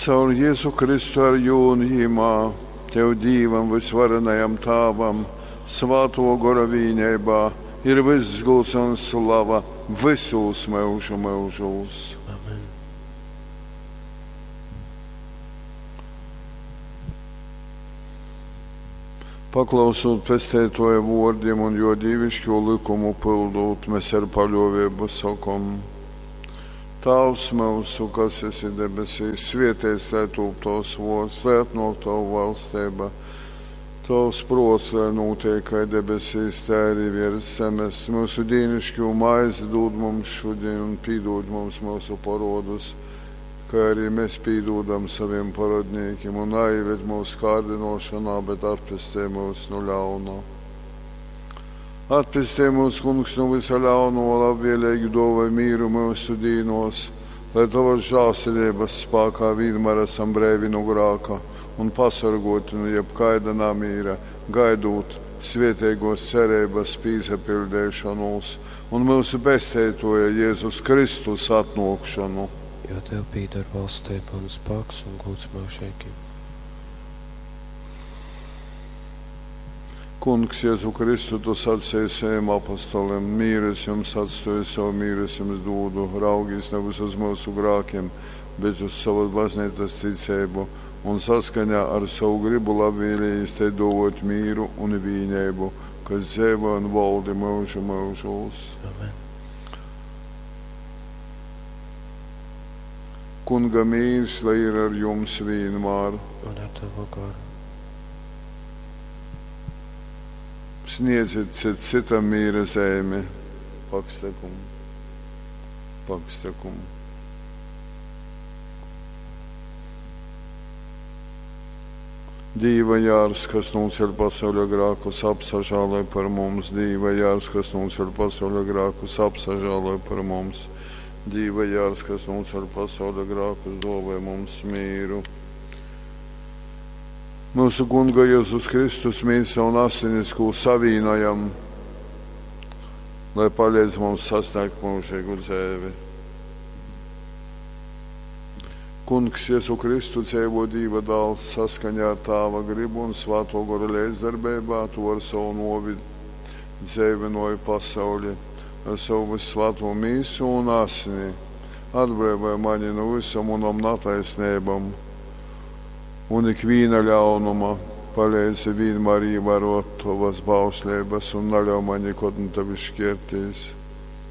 Caur Jezu Kristu ar jū un jimā, Tev Dīvam vysvarenajam Tāvam, Svātō Gora vīneibā, ir vyss gūds un slava vysūs myužu myužūs. Amen. Paklausūt Pesteitōja vōrdim un jō dīviškū lykumu pyldūt, mes ar paļōveibu sokom: Tāvs myusu, kas esi debesīs, svēteits lai tūp tovs vōrds, lai atnōk tova valsteiba. Tovs prōts, lai nūteik kai debesīs, tai arī viers zemes. Myusu dīnišķū maizi dūd mums šudiņ un pīdūd mums myusu porodus, kai arī mēs pīdūdam saviem parodnīkim, un naieved mūsu kārdinošanā, bet atpestej mūs no ļauna. Atpestej mūs, Kungs, no visa ļauno, labvēlīgi dāvāj mīru myusu dīnos, lai tavas žēlsirdības spēkā vienmēr esam breivi no grāka un pasargoti no jebkaida namīra, gaidot svētīgos cerības pīsapildīšanos un mūsu Pesteitoja Jēzus Kristus atnākšanu. Jo Tev pīdar valstība un spēks un gods mūžīgi. Kungs, Jēzu Kristu, tu sacīji saviem apostoliem, mīru es jums atstāju, savu mīru es jums dodu, raugīs nevis uz mūsu grākiem, bet uz savas baznīcas ticību, un saskaņā ar savu gribu labvēlīgi te dovot mīru un vīnību, kas dzīvo un valdi mūžu mūžos. Amen. Kunga mīrs, lai ir ar jums vienmēr. Un ar tavu garu. Sniedziet cit citam mīra zemi. Pakstekumu. Pakstekumu. Dīva jārs, kas nūceļ pasauļa grākus, apsažāloj par mums. Dīva jārs, kas nūceļ pasauļa grākus, apsažāloj par mums. Dīva jārs, kas nūceļ pasauļa grākus, dāvāj mums mīru. Mūsu Kunga Jēzus Kristus mīsa un asinis, ko savīnojam, lai palīdz mums sasniegt mūžīgu dzīvi. Kungs Jēzu Kristu dzīvo Dieva dēls saskaņā ar Tāva gribu un Svēto Goru līdzdarbībā, tu ar savu novi dzīvinoji pasauli, ar savu vissvēto mīsu un asini. Atbrīvoja mani no visam unam netaisnībām un ikviena ļaunuma. Palīdzi vienmēr ievērot tavas bauslības un neļauj man nekad no tevis šķirties.